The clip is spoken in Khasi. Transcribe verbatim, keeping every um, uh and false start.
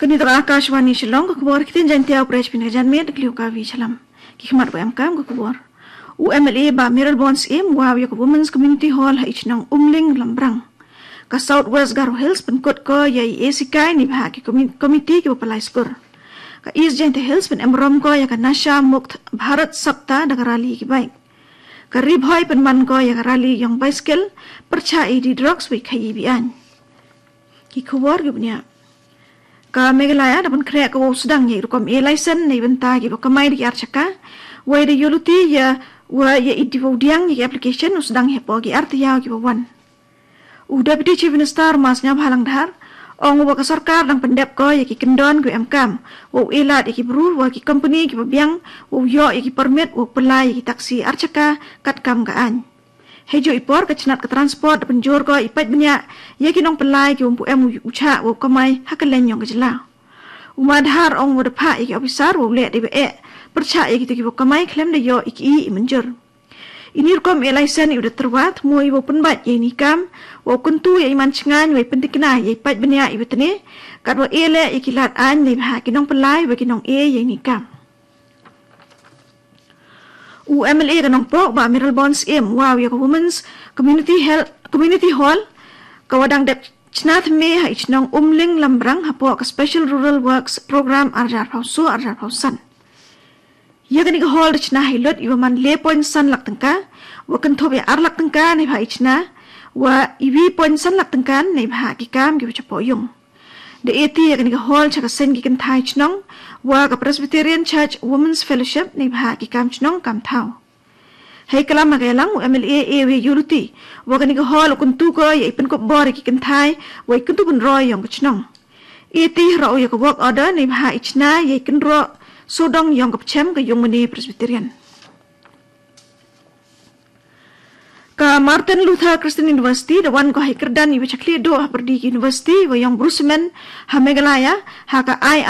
Kani ka Akashvani Shillong, ka khubor ktien Jaiñtia, u pyrshah pynka janmiet da kliw ka vi chalam. Ki khmat ba em kam ka khubor. U M L A Bah Mayralborn Syiem u wan ïa ka Women's Community Hall ha Ichnong Umling Lambrang. Ka South West Garo Hills pynkut ko ïa i A C K ni bha ki komi-, komiti ki ba pynlait skur. Ka East Jaiñtia Hills pynemrom ko ïa ka Nasha Mukt Bharat Saptah da ka rally ki bike. Ka Ri Bhoi pynman ko ïa ka rally ïong bicycle pyrshah ïa i drugs wei khaïi biang. Ki khubor ki bniah. Ka Meghalaya da pynkhreh ka wow sdang ïa i rukom A license na i bynta ki ba kamai da ki ar chaka. Wei da ïoh luti ïa wa ïa i diwa u diang ïa ki application u sdang hapoh ki ar taïew ki ba wan. U Deputy Chief Minister Mas Sniawbhalang Dhar ong wa ka sorkar dang pyndep ko ïa ki kyndon ki em kam wow e lad ïa ki bru wa ki company ki ba biang wow ïoh ïa ki permit wow pynlait ïa ki taxi ar chaka kat kam ka aiñ. Hei ju i por ka chnat ka transport da pynjur ko i pait bniah ïa ki nongpynlait ki wym pu em u chah wow kamai ha ka leng ïong ka jylla. U Ma Dhar ong wa da phah ïa ki officer wow leh da i ba eh pyrshah ïa ki tu ki wow kamai khlem da ïoh i ki i mynjur. Ini rukom A license i u da tyrwa thmu i wow pynbait ïa ini kam wow kyntu ïa i man chngain wei pyntikna ïa i pait bniah i ba tne kat wa e leh ïa ki lad aiñ nei bha ki nongpynlait wa ki nong e ïa ini kam. U M L A ka Nongpoh Bah Mayralborn Syiem u wan ïa ka Women's Community Health Community Hall ka wa dang dep chna thymme ha Ichnong Umling Lambrang hapoh ka Special Rural Works Program ar hajar arphew saw ar hajar arphew san. Ïa kani ka hall da chna hi lut i wa man le point san lak tyngka wa kynthup ïa ar lak tyngka nei bha i chna wa i wi point san lak tyngka nei bha ki kam ki wa chapoh ïung. Da eti ïa kani ka hall cha ka seng ki kynthai chnong wa ka Presbyterian Church Women's Fellowship nei bha ki kam chnong kam thaw. Hei kalam ha ka ïalang u M L A e wa ïoh luti wa kani ka hall u kyntu ko ïa i pynkup bor ïa ki kynthai wa i kyntu pynroi ïong ka chnong. Eti hroh ïa ka work order nei bha i chna ïa i kynroh sodong ïong ka pchem ka ïung mane Presbyterian. Ka Martin Luther Christian University da wan ko hei kyrdan i wa chakli do ha pyrdi ki university wa ïong Brusemen ha Meghalaya ha ka I